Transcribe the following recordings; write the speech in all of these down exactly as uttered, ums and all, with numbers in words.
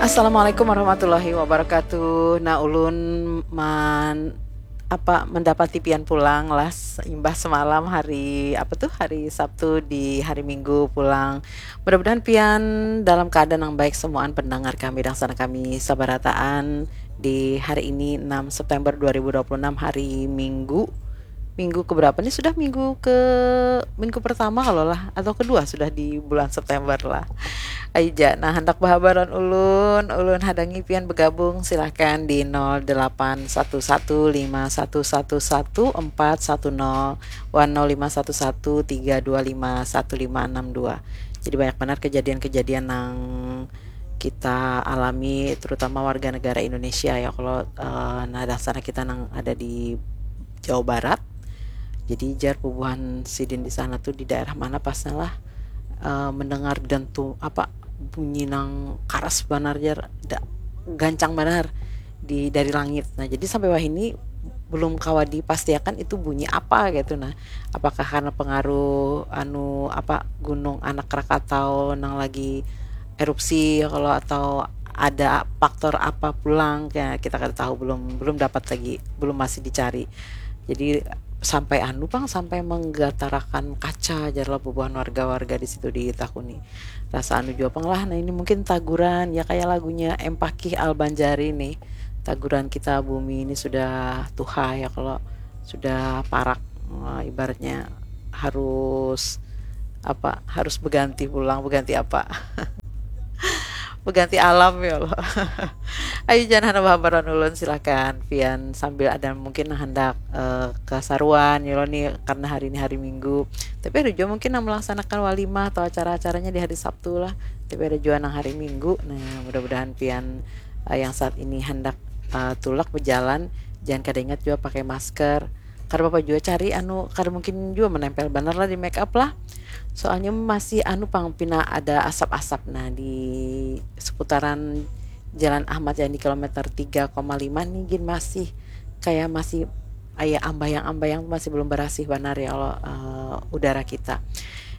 Assalamualaikum warahmatullahi wabarakatuh. Nah, ulun man apa mendapati pian pulang lah s- imbah semalam hari apa tuh hari Sabtu di hari Minggu pulang. Mudah-mudahan pian dalam keadaan yang baik semuaan pendengar kami dan sana kami sabarataan di hari ini enam September dua ribu dua puluh enam hari Minggu. Minggu keberapa nih sudah minggu ke minggu pertama kalau lah atau kedua sudah di bulan September lah. Aija, nah hendak bahabaran ulun, ulun hadangi pian bergabung silahkan di nol delapan satu satu lima satu satu satu empat satu nol wan nol lima satu satu tiga dua lima satu lima enam dua. Jadi banyak benar kejadian-kejadian nang kita alami terutama warga negara Indonesia ya kalau uh, nah dasarnya kita nang ada di Jawa Barat. Jadi jar bubuhan sidin di sana tuh di daerah mana pasnya lah uh, mendengar dentu apa bunyi nang karas banar jar da, gancang banar di dari langit. Nah, jadi sampai wah ini belum kawa dipastiakan itu bunyi apa gitu nah. Apakah karena pengaruh anu apa gunung anak Krakatau nang lagi erupsi ya kalau atau ada faktor apa pulang ya kita kada tahu belum belum dapat lagi belum masih dicari jadi sampai anu pang sampai menggatarakan kaca jarlah bubuhan warga-warga di situ ditakuni rasa anu jua pang lah nah ini mungkin taguran ya kayak lagunya Empakih Al Banjari nih taguran kita bumi ini sudah tuha ya kalau sudah parak eh, ibaratnya harus apa harus berganti pulang berganti apa berganti alam ya Allah. Ayo jangan hana bahabaran ulun silahkan pian sambil ada mungkin hendak uh, kesaruan ya nih karena hari ini hari Minggu tapi ada juga mungkin yang melaksanakan walimah atau acara-acaranya di hari Sabtu lah tapi ada juga nang hari Minggu nah mudah-mudahan pian uh, yang saat ini hendak uh, tulak berjalan jangan kada ingat juga pakai masker kada apa juga cari anu kada mungkin juga menempel bener lah di make up lah soalnya masih anu pang pina ada asap-asap nah di seputaran Jalan Ahmad Yani kilometer tiga koma lima nih gin masih kayak masih aya ambayang-ambayang masih belum berasih benar ya Allah uh, udara kita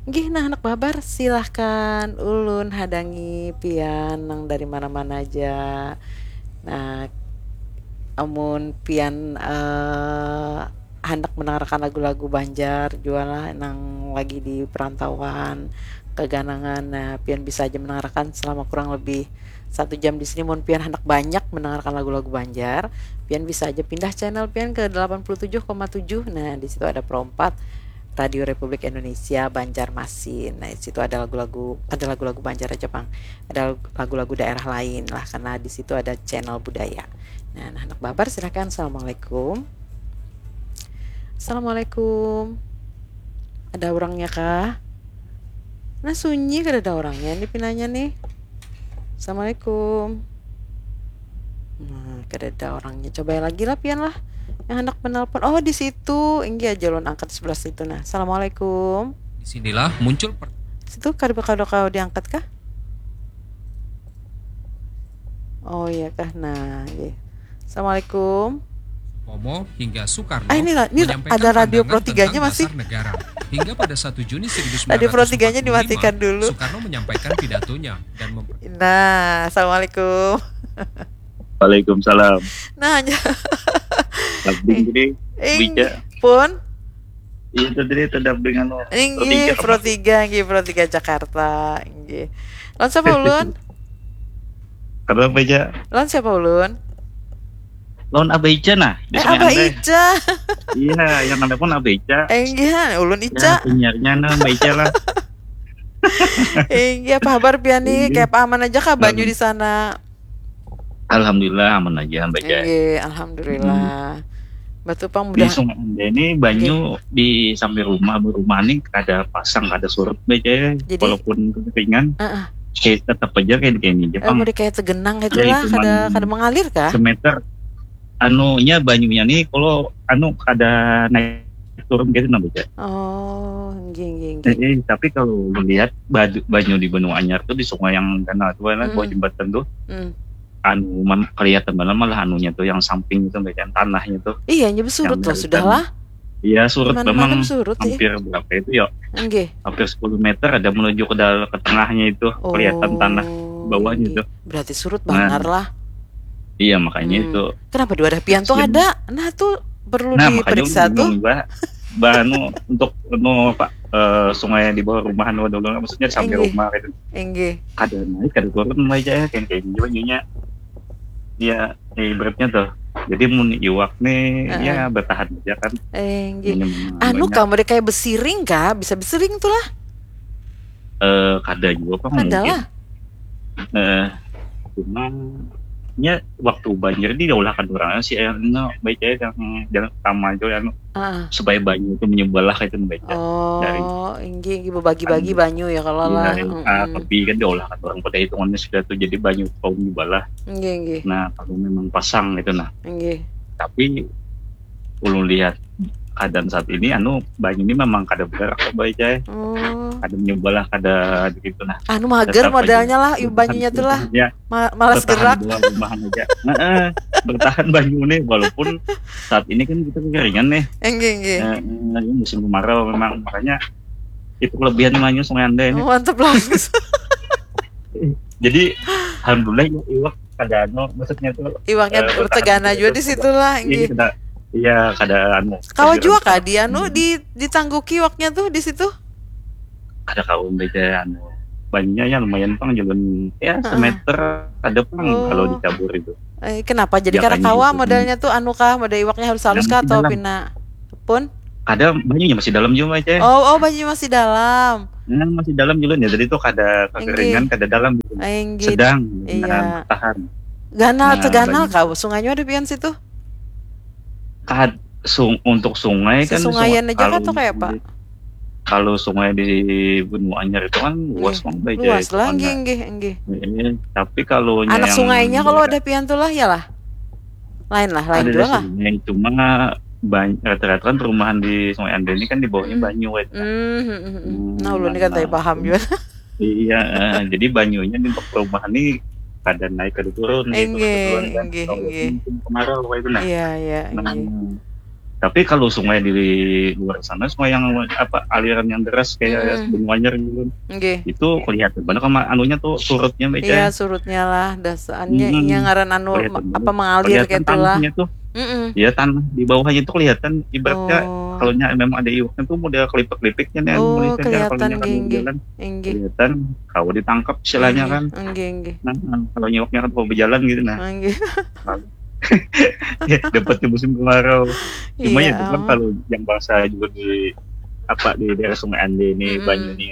Gih nah anak babar silahkan ulun hadangi pian nang dari mana-mana aja nah amun pian uh, handak mendengarkan lagu-lagu Banjar jua lah nang lagi di perantauan keganangan nah pian bisa aja mendengarkan selama kurang lebih satu jam di sini mun pian handak banyak mendengarkan lagu-lagu Banjar pian bisa aja pindah channel pian ke delapan puluh tujuh koma tujuh nah di situ ada Pro empat Radio Republik Indonesia Banjarmasin nah di situ ada lagu-lagu ada lagu-lagu Banjar aja pang ada lagu-lagu daerah lain lah karena di situ ada channel budaya nah nah handak babar silahkan assalamualaikum Assalamualaikum. Ada orangnya kah? Nah sunyi kada ada orangnya ini pinanya nih. Assalamualaikum. Nah, kada ada orangnya. Coba lagi lah pian lah. Yang hendak menelpon. Oh, di situ. Inggi aja lon angkat sebelah situ nah. Assalamualaikum. Di sinilah muncul per Situ kada kada kau diangkat kah? Oh iya kah. Nah, iya. Assalamualaikum. Pomo hingga Soekarno ah, ini, ini menyampaikan ada radio Pro tiga-nya masih. Negara. Hingga pada satu Juni seribu sembilan ratus empat puluh lima, Radio Pro tiga-nya dimatikan dulu. Soekarno menyampaikan pidatonya dan mem- Nah, assalamualaikum. Waalaikumsalam. Nah, hanya Abdi ini Ing, Wija. Pun Iya tadi terdap dengan Pro tiga, Pro tiga, Pro tiga Jakarta. Lawan siapa ulun? Karena apa aja? Lawan siapa ulun? Lawan Abah Ica nah. Eh Abah Ica. Iya, yang ada pun Abah Ica. Eh iya, ulun Ica. Ya, penyiarnya nah Abah Ica lah. Iya, apa kabar pian nih? Kayak apa aman aja kah banyu di sana? Alhamdulillah aman aja Mbak Jai. Iya, alhamdulillah. Hmm. Batu pang mudah. Di Sungai Ende ini banyu iya. Di samping rumah, rumah ini kada pasang, kada surut Mbak Jai. Jadi, walaupun keringan, uh -uh. Kayak tetap aja kayak gini aja. Eh, pang. Mau kayak tegenang itu ya, lah, itu kada kada mengalir kah? Semeter. Anunya banyunya nih kalau anu kada naik turun gitu nah Mbak Jai. Oh, enggak, enggak, enggak. Eh, eh, tapi kalau melihat banyu di benua anyar tuh di sungai yang danau tuh kan hmm. Bawah jembatan tuh hmm. Anu man, kelihatan banget malah anunya tuh yang samping itu bagian tanahnya tuh iya nya surut loh sudah lah iya surut mana, memang mana surut, hampir ya? Berapa itu ya okay. Hampir sepuluh meter ada menuju ke dalam ke tengahnya itu oh. Kelihatan tanah bawahnya tuh. Berarti surut bangar lah. Iya, makanya itu. Kenapa di wadah pian tuh ada? Nah, tuh perlu diperiksa tuh. Bah, bah anu, untuk anu apa, eh, sungai di bawah rumah anu dulu, maksudnya sampai rumah gitu. Inggih. Kada naik, kada turun aja ya, kayak kayak gitu banyunya. Ya, ya, ibaratnya tuh. Jadi mun iwak nih ya bertahan aja kan. Inggih. Anu kamu deh kayak besiring kah? Bisa besiring tuh lah. Eh, kada juga apa mungkin. Ada lah. Eh, cuma nya waktu banjir di diulahkan orang si airnya baik aja yang jalan utama aja anu Ah. Supaya banyu itu menyebelah itu baik ya. Oh, inggih, inggih, bebagi-bagi banyu ya kalau lah. Iya, ah, tapi kan diulahkan orang pada hitungannya sudah tuh jadi banyu kaum menyebelah. Inggih, inggih, Nah, kalau memang pasang gitu nah. Inggih. Tapi ulun lihat keadaan saat ini anu banyu ini memang kada bergerak apa aja ya. Oh. Kada menyebelah kada gitu nah. Anu mager Tetap aja. Modalnya lah, iu banyunya tuh lah. Ya, Ma- malas bertahan gerak. Di luar rumah aja. Heeh, bertahan banyu nih walaupun saat ini kan kita kekeringan nih. Inggih, inggih. Eh, ini musim kemarau memang makanya itu kelebihan banyu Sungai Ande ini. Oh, mantep lah. Jadi alhamdulillah iwak kada anu maksudnya tuh Iwaknya eh, bertegana bertahan juga di terus. situ lah, Iya, inggih. kada iya kada anu. Kawa kada juga anu. Kak di anu di ditangguki iwaknya tuh di situ. Kada kaum beda anu banyunya ya lumayan pang jalan ya Heeh. Semeter ada pang Oh. Kalau dicabur itu. Eh, kenapa jadi Ya, kada banyu kawa itu. Modelnya tuh anu kah, model iwaknya harus halus Yang kah di atau dalam. Pina pun? Kada banyunya masih dalam juga aja. Oh, oh, banyu masih dalam. Nah, masih dalam juga ya. Jadi tuh kada kekeringan, Inggih. Kada dalam gitu. Inggih. Sedang Iya. nah, bertahan. Ganal, Nah, teganal banyu. Kak, sungainya ada pian situ. Kad sung untuk sungai kan Sesungaian sungai- aja kah kalau atau kayak apa? di- Kalau sungai di Benua Anyar itu kan luas Inggih. Bang, baik Luas itu lah, kan, inggih, nah. Inggih, inggih. Iya, tapi kalau Anak yang sungainya kalau daerah- ada pian tuh lah ya lah. Lain lah, lain ada juga lah. Sungai, cuma banyak rata-rata kan perumahan di Sungai Ande ini kan di bawahnya Hmm. Banyu itu nah. Hmm, hmm, hmm, hmm. Hmm, Nah, ulun ini kan nah, tadi paham juga. Iya, eh, jadi banyunya di untuk perumahan ini kada naik kada turun gitu, Inggih, kebetulan kan. Inggih, Kalau Inggih. musim kemarau kayak itu nah. Iya, iya, Nah, inggih. Tapi kalau sungai di luar sana, sungai yang apa aliran yang deras kayak Mm-mm. Benua Anyar gitu, Inggih. Itu kelihatan banget sama anunya tuh surutnya baik Iya, ya. Surutnya lah, dasaannya Mm-mm. Iya ngaran anu Kelihatan ma- banget. Apa mengalir Kelihatan kayak itulah. Tanahnya tuh, Mm-mm. Ya tanah di bawahnya tuh kelihatan. Ibaratnya Oh. Kalau nya memang ada iwaknya tuh model kelipik-kelipiknya nih. Oh, Kalau kelihatan, nya kan Gengge. berjalan, Inggih. Kelihatan, kau ditangkap istilahnya kan. Inggih, inggih. Nah, kalau nyewaknya kan mau berjalan gitu nah. Inggih. Dapat di musim kemarau. Cuma Iya, ya itu kan oh. Kalau yang bahasa juga di apa di daerah Sungai Ande ini Mm-mm. Banyu ini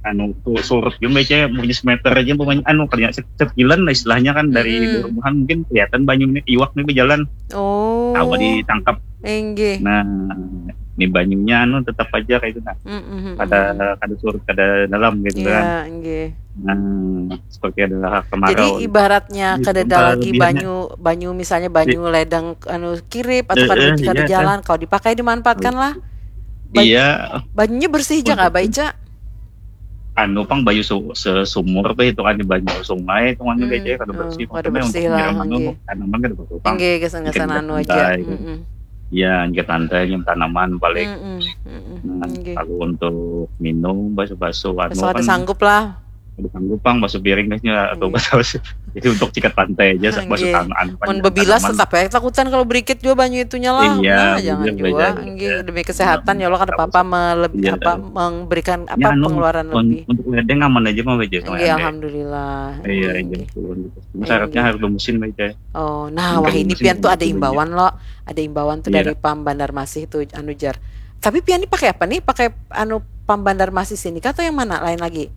anu tuh surut juga aja punya semeter aja pemain anu kayak se- sekilan lah istilahnya kan dari Mm-mm. Perumahan mungkin kelihatan banyu ini iwak nih berjalan Oh. Tawa ditangkap. Inggih. Nah, ini banyunya anu tetap aja kayak itu nah. Mm-mm. Kada kada surut kada dalam gitu kan. Iya, inggih. Nah, seperti ada Jadi kemarau. Ibaratnya Itu kada ada antara lagi lebihannya. Banyu, banyu misalnya banyu ledang anu kirip atau Eh, kada eh, kada iya, jalan, kalau dipakai dimanfaatkan lah. Banyu, Iya, banyunya bersih aja Untuk- nggak baca? Anu pang banyu su- sesumur apa itu kan banyu sungai itu kan Hmm, aja kada hmm, bersih. kada Maksudnya bersih untuk lah, nyiram anu inggih. Tanaman kada apa-apa. Inggih, kesan-kesan Ikan anu ikan aja. pantai. Mm-mm. Ya, ikan pantai yang tanaman balik. Mm-mm, mm-mm, Nah, inggih. Kalau untuk minum basu-basu anu Asal ada kan sanggup lah. Ada sanggup pang basu piring deh nya atau Inggih. basu basu. Jadi untuk sikat pantai aja basu Inggih. tangan Mun bebilas tetap ya takutan kalau berikit juga banyu itunya lah. Iya, Nah, jangan bener, juga. bener. Inggih, demi kesehatan ya Allah kada apa-apa melebih Iya. apa memberikan apa Ya, anu, pengeluaran un- lebih. Untuk ledeng aman aja mah aja Inggih, alhamdulillah. Iya, Inggih, iya. Inggih. Syaratnya Inggih. Harus bermusim aja. Oh, nah, wah ini pian tuh ada imbauan loh. Ada imbauan tuh dari Pam Bandar Masih tuh anu jar. Tapi pian ini pakai apa nih? Pakai anu Pam Bandar Masih sini kah atau yang mana lain lagi?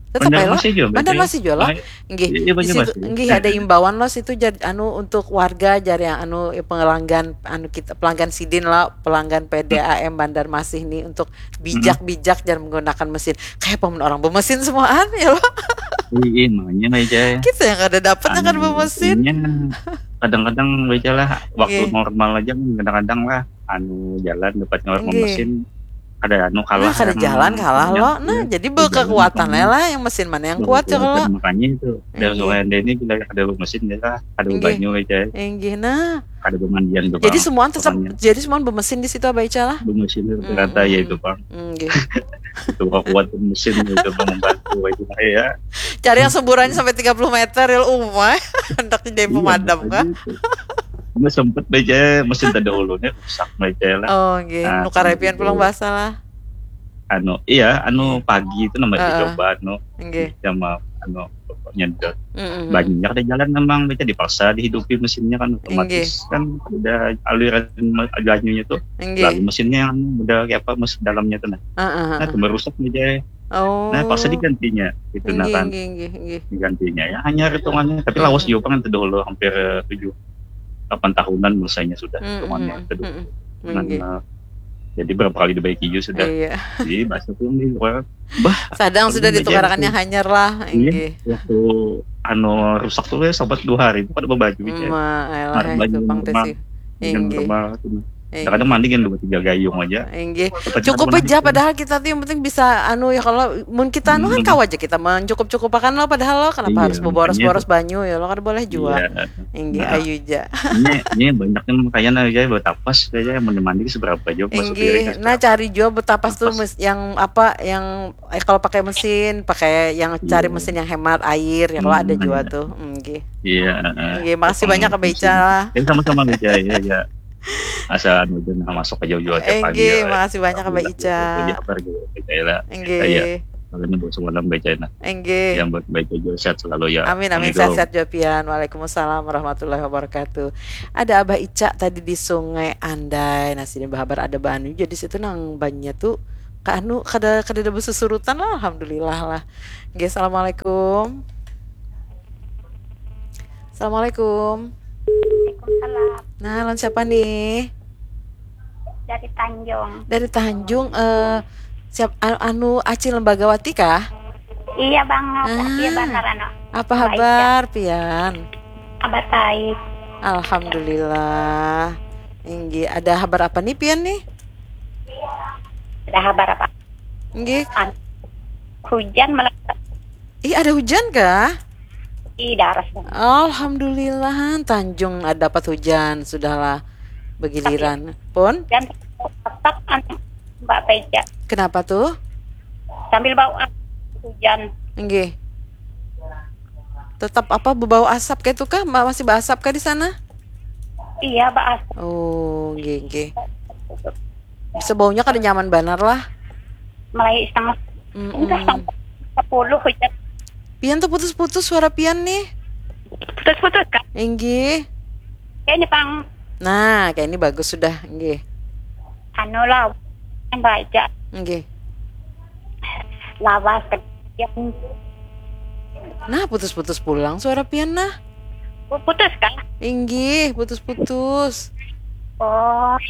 Tetap Bandar ya lo? Masih juga, Bandar Bang. Masih juga lo? Pakai- Nggih, Iya, Bandar di situ Masih. nggih ada imbauan lo situ jar anu untuk warga jar yang anu ya, pelanggan anu kita pelanggan sidin lo, pelanggan P D A M Bandar Masih nih untuk bijak-bijak jar menggunakan mesin. Kayak paman orang bermesin semuaan ya lo. Iya, makanya aja. Kita yang kada dapatnya kan Anu, bermesin. Iya, kadang-kadang aja lah waktu Nggih. Normal aja kan kadang-kadang lah anu jalan dapatnya orang Nggih. Mesin ada anu kalah Nah, kada yang jalan kalah punya lo. dia. Nah, jadi Jalan berkekuatan makanya. lah yang mesin mana yang kuat ya kalau. Makanya itu dari Nggih. Sungai Ande ini bila ada mesin ya lah, ada Nggih. banyu aja. Inggih nah. Ada pemandian tuh. Jadi Bang. semua tetap Makanya jadi semua bermesin di situ apa Ica lah? Bermesin itu Hmm, rata ya hmm. Itu bang. Nggih. Itu kuat mesin itu bang membantu itu ya. Cari yang semburannya sampai tiga puluh meter ya, umai. Handak jadi pemadam kah? Ini sempat baca mesin terdahulunya rusak baca lah. Oh, nggih. Nah, nukar apian pulang bahasa lah. Anu, iya, anu pagi itu namanya uh, coba anu. Nggih. Sama anu pokoknya itu. Mm -hmm. Banyak ada jalan memang baca dipaksa dihidupi mesinnya kan otomatis nggih. Kan udah aliran banyunya tuh. Nggih. Lalu mesinnya yang udah kayak apa mesin dalamnya tuh nah. Uh, uh, uh. Nah, itu merusak baca. Oh. Nah, paksa digantinya gitu nah kan. Digantinya ya hanya hitungannya tapi lawas juga kan dulu hampir tujuh delapan tahunan mulainya sudah hitungannya itu dulu. Nah, jadi berapa kali dibaiki juga sudah. Iya. Jadi bahasa tuh di luar bah sadang sudah ditukarakannya hanyar lah. Iya. Waktu anu rusak tuh ya sempat dua hari itu kada berbaju gitu. Malah itu pang sih. Inggih. Kadang mandi kan dua tiga gayung aja. Inggih. Cukup aja padahal kita tuh yang penting bisa anu ya kalau mun kita anu kan kawa aja kita mencukup-cukupakan lo padahal lo kenapa harus boros-boros banyu ya lo kan boleh juga. Inggih ayu aja. Ini ini banyak yang makanya aja buat tapas aja yang mandi seberapa aja. Inggih. Nah cari juga buat tapas tuh yang apa yang eh, kalau pakai mesin, pakai yang cari mesin yang hemat air, ya kalau ada juga tuh. Nggih. Iya. Nggih, makasih banyak Abah Ica lah. Ya sama-sama Abah Ica ya, ya. Asal anu masuk aja juga tiap pagi. Nggih, makasih banyak Abah Ica. Nggih. Kalau ini buat semalam Abah Ica nah. Nggih. Yang buat Abah Ica juga sehat selalu ya. Amin amin sehat-sehat juga pian. Waalaikumsalam warahmatullahi wabarakatuh. Ada Abah Ica tadi di Sungai Andai. Nah, sini bahabar ada banu jadi situ nang banyak tuh Kak Anu kada kada ada basusurutan lah alhamdulillah lah. Oke, assalamualaikum. Assalamualaikum. Waalaikumsalam. Nah, lawan siapa nih? Dari Tanjung. Dari Tanjung eh siap anu Acil Lembagawati kah? Iya banget. Ah, iya benar anu. Apa habar pian? Kabar baik. Alhamdulillah. Inggi, ada habar apa nih pian nih? Ada habar apa? Nggih. Hujan malah. Ih, ada hujan kah? Ih, daras. Alhamdulillah, Tanjung ada dapat hujan, sudahlah begiliran. Pun? Dan tetap anu, Mbak Peja. Kenapa tuh? Sambil bau hujan. Nggih. Tetap apa bebau asap kayak itu kah? Masih berasap kah di sana? Iya, berasap. Oh, nggih, nggih. Sebaunya kada nyaman banar lah. Mulai setengah Mm-mm. Enggak sampai sepuluh hujan. Pian tuh putus-putus suara pian nih. Putus-putus kan? Inggih. Kayaknya pang Nah, kayak ini bagus sudah, inggih. Anu lah, yang baca. Inggih. Lawas kemudian Nah, putus-putus pulang suara pian nah. Oh, putus kan? Inggih, putus-putus. Oh,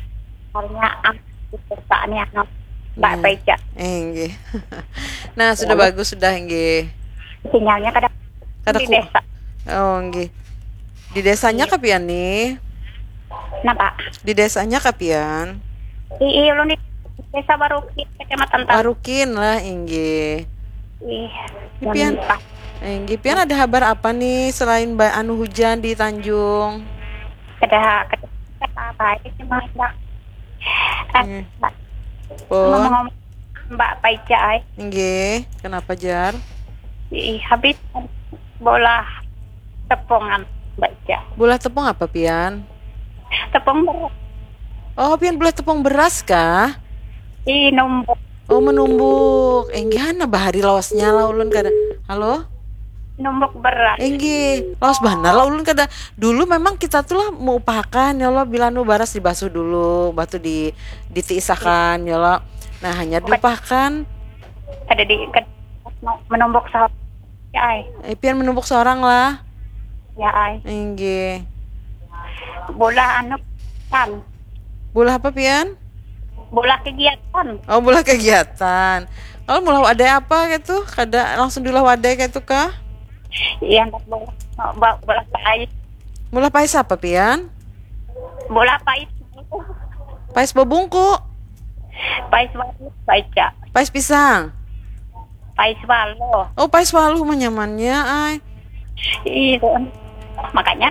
karena aku perusahaannya anu, Mbak Nah. Peja. Eh, inggih. Nah, sudah bagus sudah inggih. Sinyalnya kadang Kada di ku- desa. Oh, inggih. Di desanya kah pian nih? Kenapa? Di desanya kah pian? Ii, ulun di desa Baruki, kecamatan Tan. Warukin lah, inggih. Ih, Pian. Mentah. Inggih, pian ada habar apa nih selain ba- anu hujan di Tanjung? Kada kada kada baik cuma Mbak. Eh, Hmm. Mbak, Pun. ngomong-ngomong Mbak Peja ai. Inggih, kenapa jar? Ih, habis bola tepongan Mbak Peja. Bola tepung apa pian? Tepung ber Oh, pian bola tepung beras kah? Ih, numbuk. Oh, menumbuk. Inggih, hana bahari lawasnya lah ulun kada. Halo? Numbuk beras. Inggih, lawas banar lah ulun kada. Dulu memang kita tuh lah meupahakan ya Allah bila nu baras dibasuh dulu, batu di ditiisakan ya Allah. Nah, hanya diupahakan. Kada di kada menumbuk sahur. Ya ai. Eh, pian menumbuk seorang lah. Ya ai. Inggih. Bola anu kan. Bola apa pian? Bola kegiatan. Oh, bola kegiatan. Kalau mula wadai apa gitu? Kada langsung diulah wadai gitu kah? Iya, bola bola pais. Mula pais apa pian? Bola pais. Pais bebungku. Pais waluh baca. Pais pisang. Pais waluh. Oh, pais waluh menyamannya ai. Iya. Makanya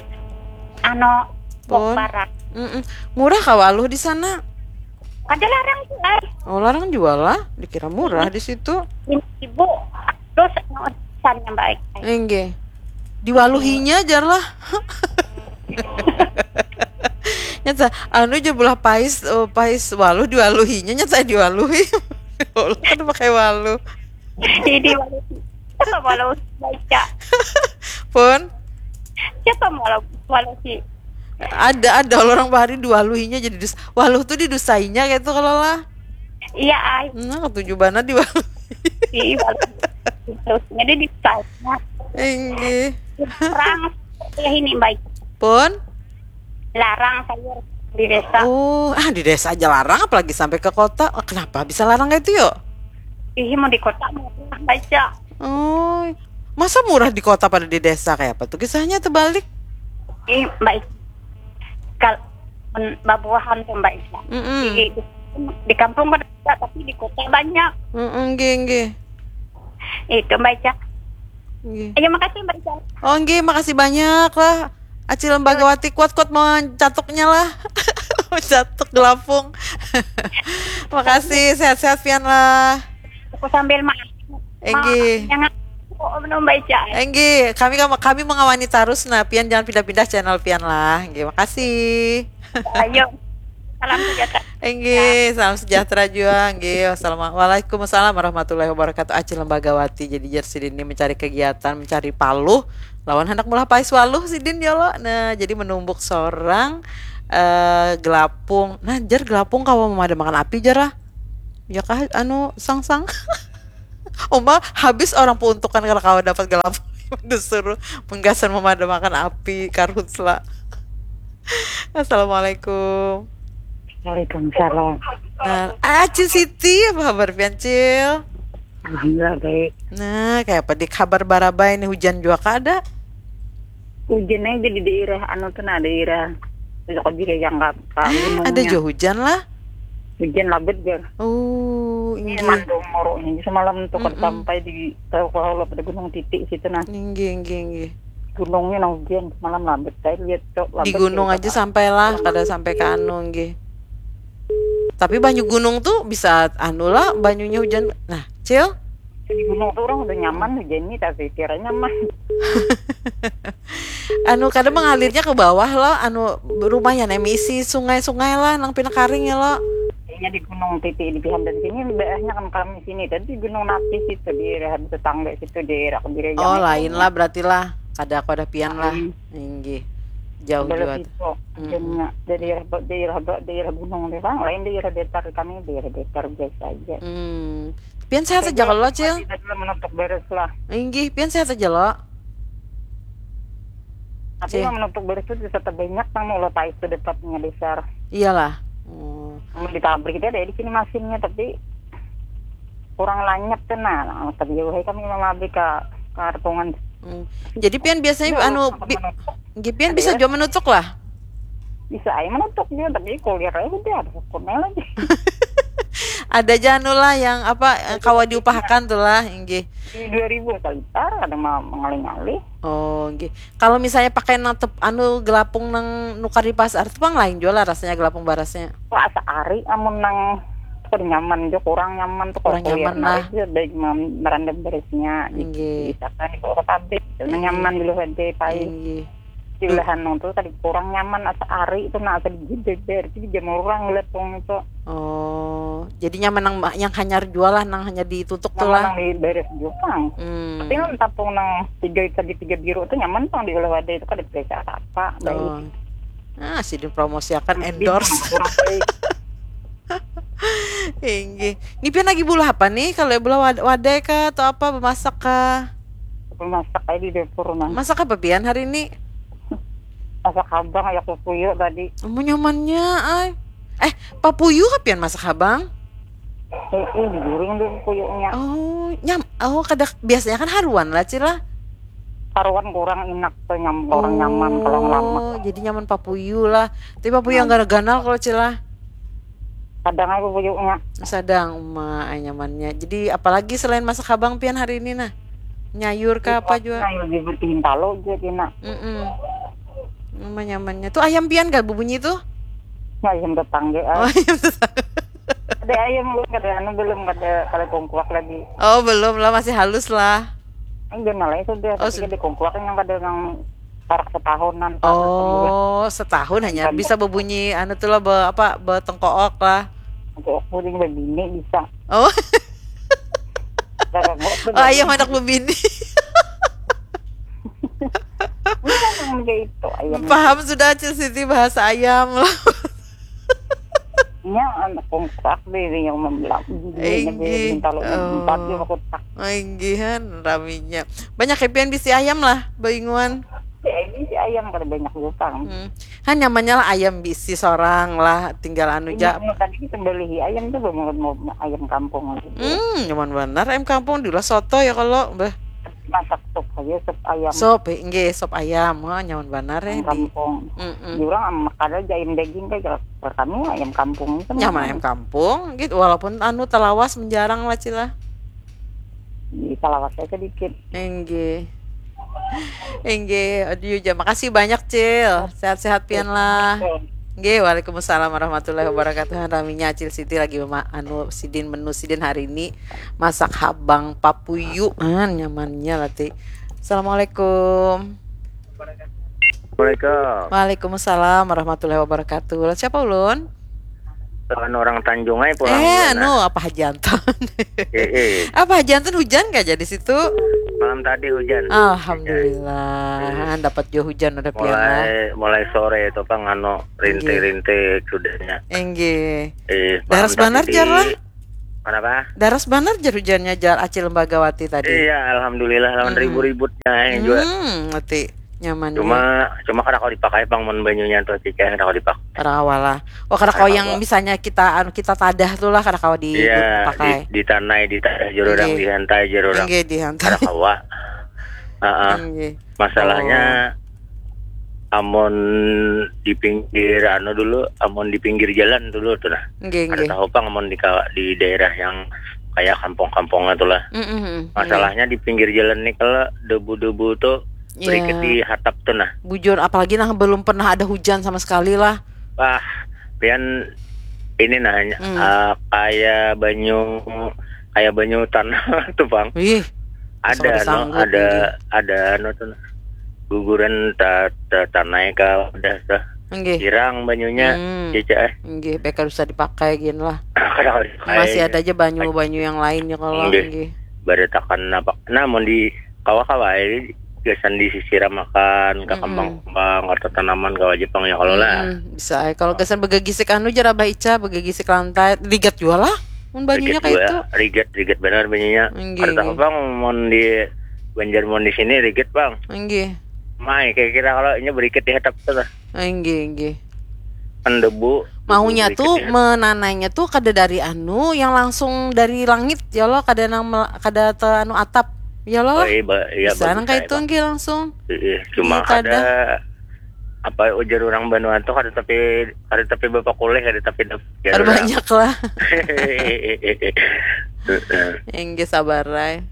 ano Pun. Barat. Mm-mm. Murah kah waluh di sana? Kada larang sih ai. Oh, larang jual lah. Dikira murah di situ. Ibu terus ano, pesannya baik. Enggih. Diwaluhinya jar lah. Nyata anu je belah pais, eh, pais waluh diwaluhinya, nyata diwaluhi. Waluh kan pakai waluh. Jadi waluh, siapa waluh baca? Pun Siapa waluh waluh si? Ada, ada orang bahari diwaluhinya jadi dus waluh tuh didusainya gitu kalau lah. Iya, ai. Nah, ketujuh banget diwaluh. Di waluh. Terus jadi di sana. Enggih. Larang ya ini, baik. Pun Larang sayur di desa. Oh, ah, di desa aja larang, apalagi sampai ke kota. Oh, kenapa bisa larang kayak itu yo? Ih, mau di kota murah baca. Oh, masa murah di kota pada di desa, kayak apa tuh kisahnya terbalik? Ih, baik. Kalau men- babuahan tuh, Mbak Ica. Mm-mm. Di, di, di kampung kan ada, tapi di kota banyak. Mm-mm, nggih, nggih. Itu, Mbak Ica. Nggih. Iya, makasih, Mbak Ica. Oh, nggih, makasih banyak lah. Acil Lembagawati, kuat-kuat mau catuknya lah. Catuk gelapung. Makasih, sehat-sehat pian lah. Aku sambil makan. Enggih. Jangan, oh, belum, Mbak Ica. Enggih, kami kami mengawani terus nah, pian jangan pindah-pindah channel pian lah. Enggih, makasih. Ayo. Salam sejahtera. Enggih, salam sejahtera juga. Enggih, wassalamualaikum, waalaikumsalam warahmatullahi wabarakatuh. Acil Lembagawati, jadi jar sidin ini mencari kegiatan, mencari paluh lawan hendak meulah pais waluh sidin ya lo. Nah, jadi menumbuk seorang eh, gelapung. Nah, jar gelapung kawa memadamakan api jar lah. Ya kah anu sangsang. Uma habis orang peruntukan kalau kawa dapat gelapung. Disuruh menggasan memadamakan api karhutla. Assalamualaikum. Waalaikumsalam. Nah, ah, Cil Siti, apa kabar pian, Cil? Alhamdulillah baik. Nah, kayak apa di kabar Barabai ini, hujan juga kada? Hujan aja di daerah anu tuh, nah, daerah Kota Bire yang kata Ah, ada juga hujan lah. Hujan labet jar. Oh, inggih. Mandung moro ini semalam tuh kada Mm-mm. sampai di tahu kalau pada Gunung Titik situ, nah. Inggih, inggih, inggih. Gunungnya, nah, hujan semalam labet. Saya lihat, Cok, labet. Di gunung aja sampai lah, kada sampai ke anu, inggih. Tapi banyu gunung tuh bisa anu lah, banyunya hujan. Nah, Cil? Di gunung tuh orang udah nyaman hujan nih, tapi kira nyaman. Anu, kada mengalirnya ke bawah lo, anu, rumahnya nih misi sungai-sungai lah, nang pina karing ya lo. Kayaknya di Gunung Titik di Pihan dan sini, mbaknya kan kami sini. Tadi di Gunung Napi situ, di daerah tetangga situ, di daerah Kebiri. Oh, lain lah berarti lah. Kada aku ada pian lah. Inggih. Jauh Bala juga. Piso, hujannya. Dari daerah, daerah, daerah gunung nih, Bang. Lain daerah datar, kami daerah datar biasa aja. Hmm. Pian sehat aja kalau, Cil? Kita dulu menutup beres lah. Inggih, pian sehat aja lo. Tapi Cil. Yang menutup beres itu bisa terbanyak nang mau lo tahu itu dapatnya besar. Iyalah. Oh. Kalau di pabrik itu ada di sini masinnya, tapi kurang lanyap tuh, nah. Nah, tapi jauh kami mau pabrik ke Kartungan. Hmm. Jadi pian biasanya anu bi- nggih, pian bisa juga menutuk lah. Bisa aja menutuk juga, tapi kuliah aja udah ada hukumnya lagi. Ada aja anu lah yang apa, eh, kawa diupahakan tuh lah, inggih. Di dua ribu kali tar ada ma- mengalih-ngalih. Oh, nggih. Kalau misalnya pakai nang tep- anu gelapung nang nukar di pasar tuh pang lain juga lah rasanya gelapung barasnya. Wah, asa ari amun nang tuh nyaman juga, kurang nyaman tuh. Kurang Kalau kuliah nyaman lah. Baik, merandam beresnya di Nggih. Misalkan di kota pabrik, nyaman dulu aja paling Inggih. di ulahan nang tuh tadi kurang nyaman, asa ari itu, nah, asa digidai beres, jadi jamur orang ngeliat wong itu. Oh, jadi nyaman nang yang hanyar jua lah, nang hanya ditutuk tuh Nyaman lah. Nang di beres jupang. Hmm. Tapi nang tapung nang tiga, segi tiga biru tuh nyaman pang di ulah wadai itu, kada periksa apa-apa. Baik. Oh. Ah, sidin promosiakan, endorse. Kurang baik. Inggih. Ni pian lagi bulah apa nih? Kalau bulah wad- wadai kah atau apa, bemasak kah? Masak aja di dapur, nah. Masak apa pian hari ini? Masak habang, ya, kukuyu tadi. Mau nyamannya, ay. Eh, papuyu kah pian masak habang? Eh, eh, digoreng dulu kuyuknya. Oh, nyam. Oh, kada, biasanya kan haruan lah, Cil lah. Karuan kurang enak tuh, nyam, kurang nyaman kalau ngelama. Oh, jadi nyaman papuyu lah. Tapi papuyu yang ganal-ganal kalau, Cil lah. Kadang aja kuyuknya. Sadang uma, ay, nyamannya. Jadi apalagi selain masak habang pian hari ini nah? Nyayur kah apa juga? Nah, lebih bersihin talo juga, Tina. Mm-mm. Uma nyamannya. Tuh ayam pian gak berbunyi tuh? Nah, yang tetangga, Oh, ah. ayam tetangga. Ada ayam belum, kada anu belum, kada, kada kongkuak lagi. Oh, belum lah, masih halus lah. Ini jangan lah itu dia, Oh, tapi sud- di kungkuak yang kada nang parak setahunan, parak sembulan. Oh, setahun hanya bisa bebunyi anu tuh lah, be, apa, betengkook lah. Untuk aku yang bebini bisa. Oh, Kakak gua tuh oh ayam anak bebini. Bukan yang kayak itu, ayam. Paham sudah Acil Siti bahasa ayam lah. Nya anak kungkuak deh yang membelah. Inggih. Minta lo Oh. Empat dia aku tak. Inggihan raminya. Banyak happyan bisi ayam lah, bainguan. Ya, ini si ayam kada banyak juga kan. Hmm. Han nyamannya lah ayam bisi sorang lah, tinggal anu ja. Ini tadi kita beli ayam tuh mau, mau ayam kampung aja. Hmm, nyaman banar ayam kampung, diulah soto ya kalau, bah. Masak sup aja, sup ayam. Sop, eh, inggih, sop ayam. Wah, nyaman banar ya Ayam di. Kampung. Mm-mm. Di orang am-, kada aja ayam daging kayak kalau kami ayam kampung itu Nyaman ayam kampung gitu, walaupun anu talawas menjarang lah, Cila. Di Salawasnya sedikit. Inggih. Inggih, aduh ya, makasih banyak, Cil. Sehat-sehat pian lah. Inggih, waalaikumsalam warahmatullahi wabarakatuh. Raminya Acil Siti lagi mema-, anu sidin, menu sidin hari ini masak habang papuyu. Ah, nyamannya lah, Ti. Assalamualaikum. Assalamualaikum. Waalaikumsalam warahmatullahi wabarakatuh. Lah, siapa ulun? Lawan orang Tanjung aja pulang. Eh, Nah. Anu, apa hajantan? Eh, eh. Apa hajantan, hujan gak jadi situ? Malam tadi hujan. Alhamdulillah, dapat jua hujan ada pian lah. Mulai mulai sore itu pang anu rintik-rintik sudahnya. Enggih. Eh, Daras malam banar, tadi jar, di- lah? Kenapa? Daras banar jar hujannya, jar Acil Lembagawati tadi. Iya, alhamdulillah lawan Hmm. ribut-ributnya eh, juga. Hmm, ngerti. Nyaman. Cuma cuma kada kau dipakai pang mun banyunya tuh, Cika, kada kau dipakai. Kada kawa lah. Oh, kada kawa Kada yang kawa. Misalnya kita anu, kita tadah tuh lah, kada kawa di Iya, pakai. di, di tanai, di tanah jero orang Inggih. Dihantai, jero orang. Enggih, dihantai. Kada kawa. Heeh. Enggih. Masalahnya amun di pinggir anu dulu, amun di pinggir jalan dulu tuh nah. Enggih, Kada enggih. tahu pang amun di kawa-, di daerah yang kayak kampung-kampungnya tuh lah. Mm-mm, enggih. Masalahnya di pinggir jalan nih kalau debu-debu tuh Iya. berikit di hatap tuh nah. Bujur, apalagi nah belum pernah ada hujan sama sekali lah. Wah, pian ini nanya Hmm. eh, kayak banyu kayak banyu tanah tuh, Bang. Wih, Ada kada no, sanggup, ada inggih. Ada anu tuh guguran ta, ta, tanai ka udah tuh Enggih. Hirang banyunya. Hmm. Cica eh. Enggih, peka usah dipakai gin lah. Kada kawa dipakai. Masih ada aja banyu-banyu yang lainnya kalau Enggih. Enggih. Baratakan apa? Nah, mun di kawa-kawa eh, gasan disisiram akan ke Mm-mm. kembang-kembang atau tanaman kawa aja pang ya kalau lah. Mm-mm, bisa ai. Kalau gasan begagisik anu jar Abah Ica, begagisik lantai, ligat jua lah. Mun banyunya Rigat kayak jua, itu. rigat, rigat benar banyunya. Enggih, Kada tahu enggih. pang mun di Banjar mun di sini rigat, Bang. Enggih. Mai kira-kira kalau ini berikit di hatap tuh lah. Enggih, enggih. Kan debu. Maunya debu tuh berikit di hatap. Menanainya tuh kada dari anu yang langsung dari langit ya lo, kada nang mel- kada te anu atap ya lo. Oh, iya, ba- iya, Bisa nang bagus kayak aja, itu Bang. Enggih langsung. Iya, cuma Iya, kada. kada apa ujar orang Banua tuh kada tapi kada tapi bapak kulih kada tapi dap- Ada banyak lah. Heeh. Enggih, sabar ai.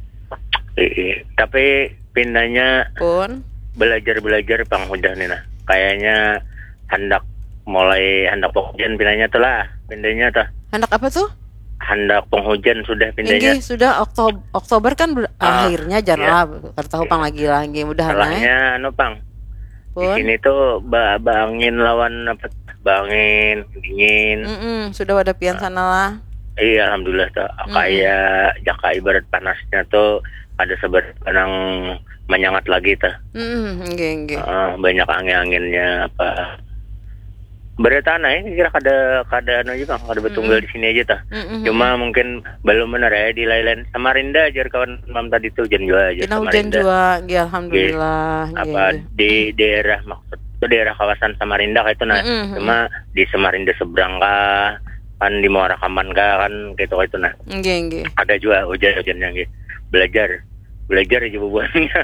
Iya. Tapi pindahnya Pun. Belajar-belajar pang hudah nih nah. Kayaknya handak mulai handak penghujan pindahnya tuh lah. Pindahnya tuh Handak apa tuh? handak penghujan sudah pindahnya. Enggih, sudah Oktober, Oktober kan ber- Ah, akhirnya jar iya. lah. Kada tahu pang lagi lah, enggih, mudahan ai. Salahnya anu pang. Di Pun. Sini tuh ba, baangin lawan apa? Baangin dingin. Mm-mm, sudah ada pian sana lah. Iya, alhamdulillah tuh. Mm-mm. Kayak jaka ibarat panasnya tuh ada sebar nang menyengat lagi tuh. Mm-mm, enggih, enggih. Heeh, banyak angin-anginnya apa. Berita nah ini kira kada kada anu aja bang, kada bertunggal Mm-mm. di sini aja tuh. Mm-mm, Cuma mm-mm. Mungkin belum benar ya di lain-lain. Samarinda ajar kawan mam tadi tuh hujan juga ajar Pina hujan Samarinda. Jua, enggih, alhamdulillah. Enggih, Apa enggih. Di daerah maksud itu daerah kawasan Samarinda kayak itu nah. Mm-mm, mm-mm. Cuma di Samarinda seberang kah, kan di Muara Kaman kah kan gitu kayak itu nah. Enggih, enggih. Ada juga hujan-hujannya gitu. Belajar, belajar aja bubuhannya.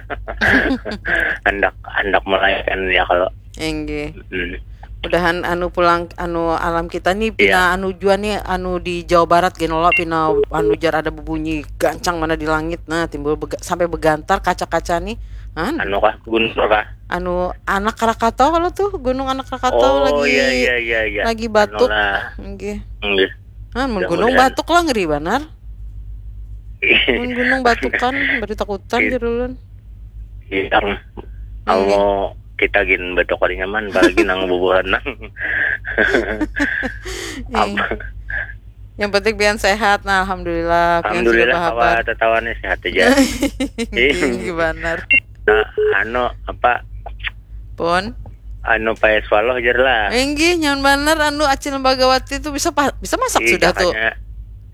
Hendak hendak melayakan ya kalau Enggih. hmm. Mudahan anu pulang anu alam kita nih pina Iya. Anu jua nih anu di Jawa Barat gini lo pina anu jar ada bebunyi gancang mana di langit nah timbul bega- sampai begantar kaca-kaca nih. Anu, Anu kah guntur kah? Anu anak Krakatau kalau tuh gunung anak Krakatau Oh lagi iya iya iya iya. lagi batuk. Anu lah. Enggih. Enggih. Ah, mun Mudah-mudahan. Gunung Batuk lah ngeri banar. Mun gunung batukan, bari takutan jar ulun. Iya, kamu kita gin batuk kada nyaman, apalagi nang bubuhan nang. Apa? Yang penting pian sehat, nah alhamdulillah. Pian sudah Alhamdulillah, bahabar. Kawa tatawa nih sehat aja. Iya banar. Nah, anu apa Pun. Anu payah swalloh jar lah. Inggih, nyaman banar anu Acil Bagawati tuh bisa pa- bisa masak Ih, sudah tuh. Jakanya,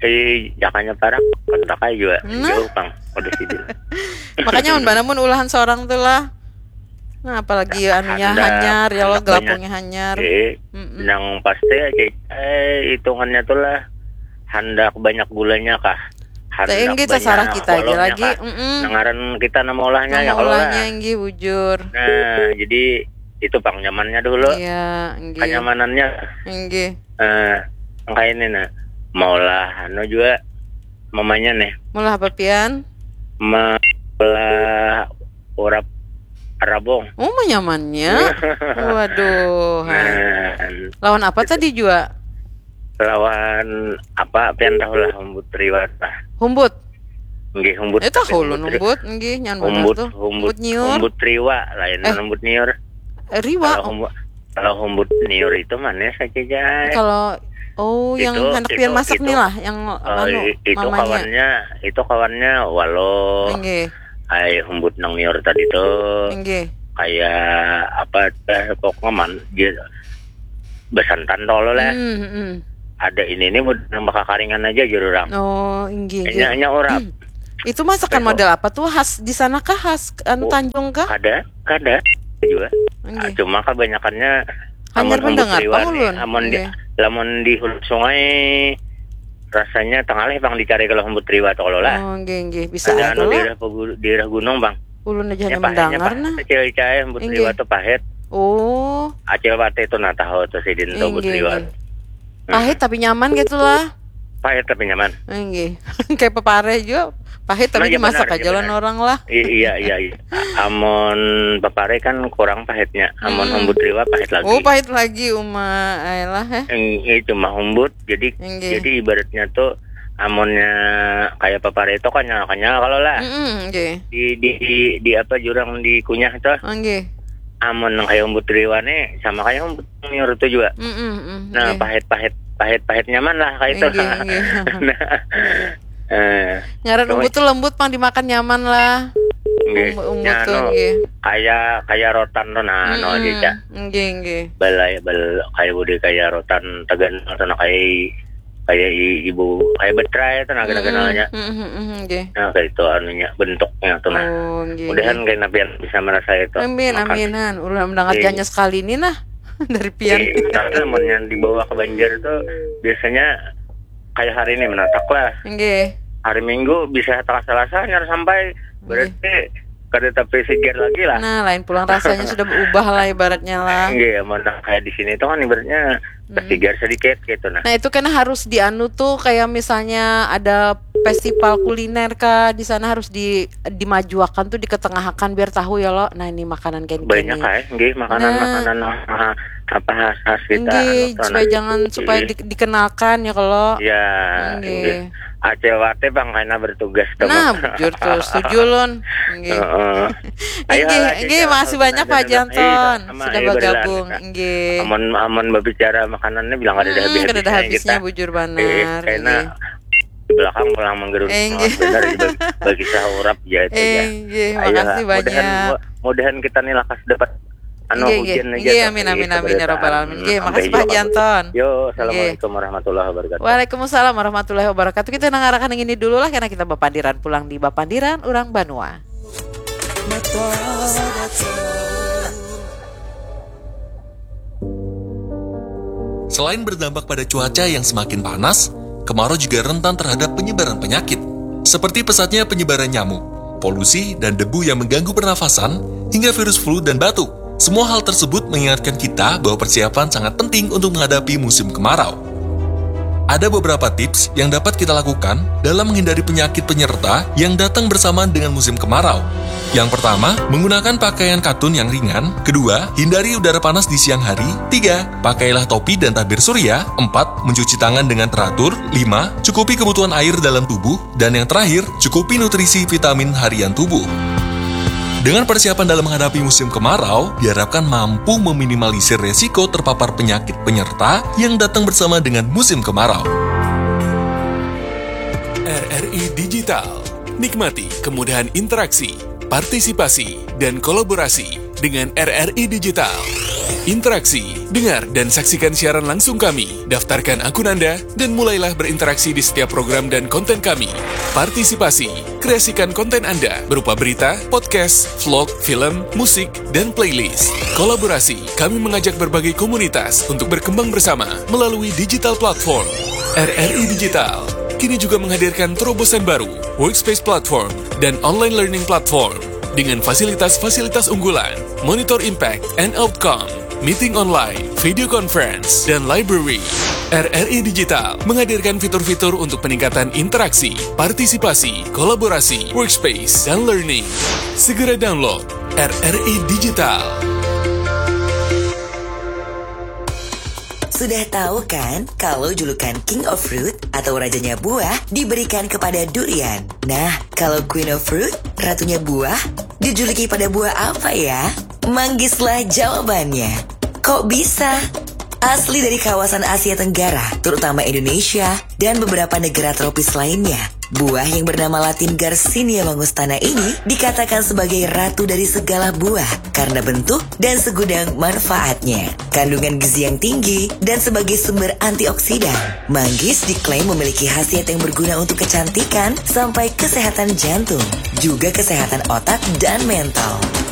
ih, jakanya parah kontak aja juga. Nah. Jauh pang. Udah sih dulu. Makanya mun banar mun ulahan seorang tuh lah. Nah, apalagi anunya Handak- hanyar ya Allah, handak banyak. Gelapungnya hanyar. Eh, Mm-mm. Nang pasti aja eh hitungannya tuh lah handak banyak gulanya kah? Teh, inggih, terserah kita aja lagi. Mm-mm. Nangaran kita nama olahnya ya Nama kalau olahnya lah. Inggih bujur. Nah, jadi itu pang nyamannya dulu. Iya, inggih. Kenyamanannya Inggih. eh kayak ini nah. Maulah anu juga mamanya nih. Maulah apa pian? Maulah urap rabung. Oh, nyamannya. Waduh. Hai. Nah, Lawan apa tadi juga? Lawan apa pian tahu lah humbut riwat lah. Humbut. Nggih humbut. Itu Tapi ulun ri- humbut, nggih, nyan bener Humbut, tuh. humbut, Nyiur. Humbut riwa lain Eh. Humbut niur. Eh, riwa. Kalau humbut kalau humbut niur itu manis aja jay. Kalau oh yang Itu- hendak itu- pian masak itu- nih lah, yang Oh, anu i- itu mamanya. Kawannya itu kawannya walau Nggih. Ai humbut nang niur tadi tuh Nggih. Kayak apa teh pokoknya man dia besantan tolo lah. Hmm, hmm. Ada ini nih udah nang bakakaringan aja jur orang. Oh, inggih. Hanya hanya orang. Itu masakan Apa itu? Model apa tuh, khas di sana kah, khas anu Oh, Tanjung kah? Kada, kada juga. Nggih. Cuma kebanyakannya Hanyar amun humbut mendengar, riwa Bang nih, Ulun. amun di Nggih. lamun di hulu sungai rasanya tengah leh pang dicari kalau humbut riwa tuh kalau lah. Oh, nggih nggih, bisa Ada aja anu lah. daerah pegu- daerah gunung bang. Ulun aja Ya hanya pahitnya mendengar pahit nah. Kecil cai humbut Inggih. Riwa tuh pahit. Oh, Acil wate tuh nah tahu tuh sidin tuh humbut inggih. Riwa. Inggih. Pahit tapi nyaman gitu lah. Pahit tapi nyaman. Inggih. Kayak pepare juga. Pahit tapi Nah, iya, dimasak benar, aja iya, lah benar. Orang lah. I- iya iya iya. Amun pepare kan kurang pahitnya. Amun Hmm. Humbut Riwa pahit lagi. Oh, pahit lagi uma, ayolah eh. Eng- Ini cuma humbut, jadi Inggih. jadi ibaratnya tuh amunnya kayak pepare itu kenyal kenyal kalau lah. Mm-mm, nggih. Di, di di di apa jurang dikunyah tuh. Oh, nggih. Amun nang kayak humbut Riwa nih sama kayak humbut niur tuh juga. Mm-mm, mm, Nah, nggih. Pahit-pahit pahit-pahit nyaman lah kayak itu. Inggih, inggih. Nah, eh, Ngaran Cuma- umbut tuh lembut pang dimakan nyaman lah. Nggih. Umbut, umbut Nya tuh anu, nggih. Kayak kayak rotan tuh nah anu aja Mm-mm, cak. Nggih, nggih. Balai bal kayak udah kayak rotan tegan tuh nah kayak kayak i- ibu kayak betrai tuh nah kenal-kenalnya. Mm, mm, mm, nggih. Nah, kayak itu anunya bentuknya tuh nah. Oh, nggih. Mudahan Nggih. Kayak napian bisa merasa itu. Amin, Makan. Amin han. Ulah mendengar Iya. Janya sekali ini nah dari pian. Eh, tapi lamun yang dibawa ke Banjar tuh biasanya kayak hari ini menatak lah. Nggih. Hari Minggu bisa tengah Selasa nyar sampai berarti kada tapi segar lagi lah. Nah, lain pulang rasanya sudah berubah lah ibaratnya lah. Nggih, amun nang kayak di sini tuh kan ibaratnya Hmm. segar sedikit gitu nah. Nah, itu kan harus dianu tuh kayak misalnya ada festival kuliner kah di sana harus di dimajuakan tuh diketengahakan biar tahu ya lo. Nah, ini makanan kayak Banyak gini. Kayak nggih makanan Nah. Makanan ah, apa khas khas kita Nggih, anu tuh, supaya nah. Jangan supaya Nggih. di- dikenalkan ya kalau. Ya, Nggih. nggih. Acil Wate bang karena bertugas tuh. Nah, Bang. Bujur tuh setuju lon. Nggih. Heeh. Inggih, Ayolah, inggih, Cica, makasih banyak Pak benar-benar. Janton Iya, sama, sudah iya, benar, bergabung. kita. Inggih. Amun amun berbicara makanannya bilang ada Hmm, kada ada habisnya bujur banar. Eh, karena Inggih. di belakang pulang menggerus Inggih. Benar bagi, bagi sahurap ya itu ya. Inggih, Ayolah, makasih banyak. Mudahan, mudahan kita nih lakas dapat anu Inggih, hujan inggih. Aja Inggih, tuh, amin, di amin, amin, ya pemerintahan. Rabbal Alamin. Inggih, Sampai makasih juga, Pak Pak. Janton. Yo, Inggih. assalamualaikum warahmatullahi wabarakatuh. Waalaikumsalam warahmatullahi wabarakatuh. Kita nangarakan ini dulu lah karena kita bapandiran pulang di bapandiran orang banua. Selain berdampak pada cuaca yang semakin panas, kemarau juga rentan terhadap penyebaran penyakit, seperti pesatnya penyebaran nyamuk, polusi, dan debu yang mengganggu pernafasan, hingga virus flu dan batuk. Semua hal tersebut mengingatkan kita bahwa persiapan sangat penting untuk menghadapi musim kemarau. Ada beberapa tips yang dapat kita lakukan dalam menghindari penyakit penyerta yang datang bersamaan dengan musim kemarau. Yang pertama, menggunakan pakaian katun yang ringan. Kedua, hindari udara panas di siang hari. Tiga, pakailah topi dan tabir surya. Empat, mencuci tangan dengan teratur. Lima, cukupi kebutuhan air dalam tubuh. Dan yang terakhir, cukupi nutrisi vitamin harian tubuh. Dengan persiapan dalam menghadapi musim kemarau, diharapkan mampu meminimalisir resiko terpapar penyakit penyerta yang datang bersama dengan musim kemarau. R R I Digital. Nikmati kemudahan interaksi, partisipasi, dan kolaborasi dengan R R I Digital. Interaksi, dengar dan saksikan siaran langsung kami. Daftarkan akun Anda dan mulailah berinteraksi di setiap program dan konten kami. Partisipasi, kreasikan konten Anda berupa berita, podcast, vlog, film, musik, dan playlist. Kolaborasi, kami mengajak berbagai komunitas untuk berkembang bersama melalui digital platform. R R I Digital kini juga menghadirkan terobosan baru, Workspace Platform, dan Online Learning Platform dengan fasilitas-fasilitas unggulan, monitor impact and outcome, meeting online, video conference, dan library. R R I Digital menghadirkan fitur-fitur untuk peningkatan interaksi, partisipasi, kolaborasi, workspace, dan learning. Segera download R R I Digital. Sudah tahu kan kalau julukan King of Fruit atau rajanya buah diberikan kepada durian? Nah, kalau Queen of Fruit, ratunya buah, dijuluki pada buah apa ya? Manggislah jawabannya. Kok bisa? Asli dari kawasan Asia Tenggara, terutama Indonesia dan beberapa negara tropis lainnya. Buah yang bernama Latin Garcinia langustana ini dikatakan sebagai ratu dari segala buah karena bentuk dan segudang manfaatnya. Kandungan gizi yang tinggi dan sebagai sumber antioksidan. Manggis diklaim memiliki khasiat yang berguna untuk kecantikan sampai kesehatan jantung, juga kesehatan otak dan mental.